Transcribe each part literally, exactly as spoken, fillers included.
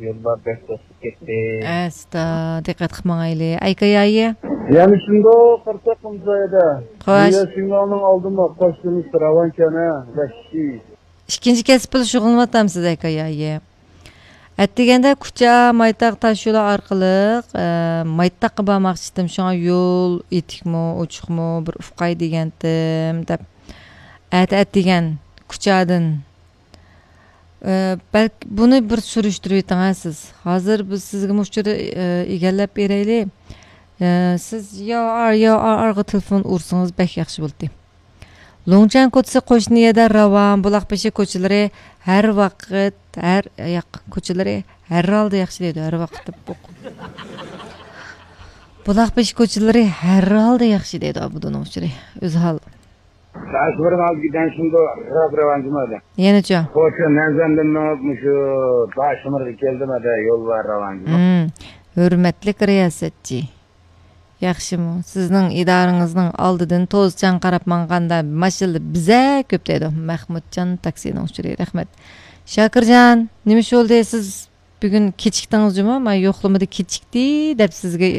يوللار بەك توسۇپ كەتتى. ئەستا، دىققەت قىلىپ ماڭايلى. ئەيكايايى. يەنە شۇنداق قىرساق قىمزايدا. خوش. دۇنيا شىنجاڭنىڭ ئالدىمۇ قوشتىمىز راۋانكەنە، ۋەھشىي. ئىككىنچى كەسىپ بىلەن شۇغۇللىنىۋاتامسىز، ئەيكايايى؟ ئەتىگەندە كۇچا، مايتاق تاش يولى ئارقىلىق، ئە، مايتاققا بارماقچىدىم. شۇڭا يول يېتىكمۇ، ئوچۇقمۇ، بىر ئۇقاي دېگەنتىم، دەپ. ئەتە ئەتىگەن كۇچادىن ئە، بەلكى بۇنى بىر سۈرۈشتۈرۈۋېتىڭ ھە سىز. ھازىر بىز سىزگە مۇشۇ چېغىدا، ئە، ئىگىلەپ بېرەيلى. ئە، سىز يا ئار، يا ئار، ئارغا تېلېفون ئۇرسىڭىز بەك ياخشى بولاتتى. لوڭچەن كوچىسى قوشنا يەردە راۋان، بۇلاق بېشى كوچىلىرى ھەر ۋاقىت، ھەر ياق كوچىلىرى ھەر ھالدا ياخشى دەيدۇ، ھەر ۋاقىت دەپ ئوقۇ. بۇلاق بېشى كوچىلىرى ھەر ھالدا ياخشى دەيدۇ، ئابدۇنىڭ ئۇچۇرى. ئۆزى ھال. تاشمۇرغا ئالدىكى دەنشىمدۇ راپ راۋانجىمادا. يەنىچۇ؟ خوچۇ مەنزەندىن مېڭىپ مۇشۇ تاشمۇرغا كەلدىم، ئەدە يول بار راۋانجىما. ھىم، ھۆرمەتلىك رىياسەتچى. ياخشىمۇ؟ سىزنىڭ ئىدارىڭىزنىڭ ئالدىدىن توزچان قاراپ ماڭغاندا ماشىنىلا بىزە كۆپ دەيدۇ. مەخمۇتجان تاكسىنىڭ ئۇچۇرى. رەھمەت. شاكىرجان، نېمە ئىش بولدى؟ سىز بۈگۈن كېچىكتىڭىز جۇمۇ، مانا يوقلىمىدا كېچىكتى دەپ سىزگە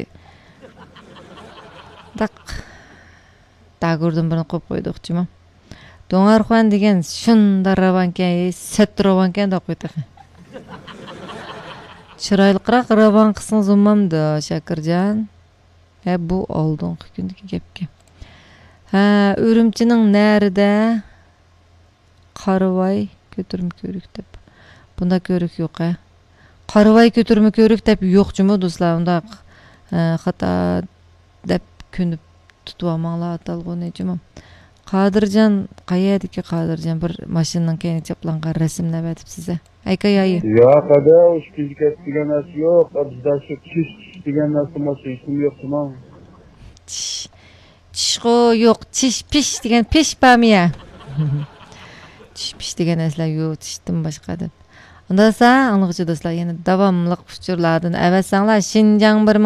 داق داگۇردىن بىرنى قويۇپ قويدۇق جۇمۇ. دۇڭئارخۇەن دېگەن شۇنداق راۋانكەن، سەت راۋانكەن دەپ قوي تېخى. چىرايلىقراق راۋان قىلسىڭىز بولمامدۇ، شاكىرجان؟ ھە، بۇ ئالدىنقى كۈندىكى گەپكەن. ھە، ئۈرۈمچىنىڭ نەرىدە؟ قارىۋاي كۆتۈرمە كۆۋرۈك دەپ. بۇنداق كۆۋرۈك يوق ھە. قارىۋاي كۆتۈرمە كۆۋرۈك دەپ يوق جۇمۇ دوستلار. ئۇنداق، ئە، خاتا دەپ كۆنۈپ تۇتۇۋالماڭلار ئاتالغۇنى جۇمۇ. قادىرجان، قەيەردىكى قادىرجان؟ بىر ماشىنىنىڭ كەينىگە چاپلانغان رەسىملەر ئەۋەتىپسىز ھە. ئەيكايايى. ياق ئەدە، ئۇ ئىككىنچى كەسىپ دېگەن نەرسە يوق. بىزدە شۇ چىش، چىش دېگەن نەرسە، ماشىنا ئىسمى يوق جۇمۇ. چىش. چىشقۇ يوق، چىش پىش دېگەن پىش بارمۇ يا؟ چىش پىش دېگەن نەرسىلەر يوق، چىشتىن باشقا دەپ. ئۇنداق بولسا، ئاڭلىغۇچى دوستلار، يەنە داۋاملىق ئۇچۇرلاردىن ئەۋەتسەڭلار، شىنجاڭ بىر مىڭ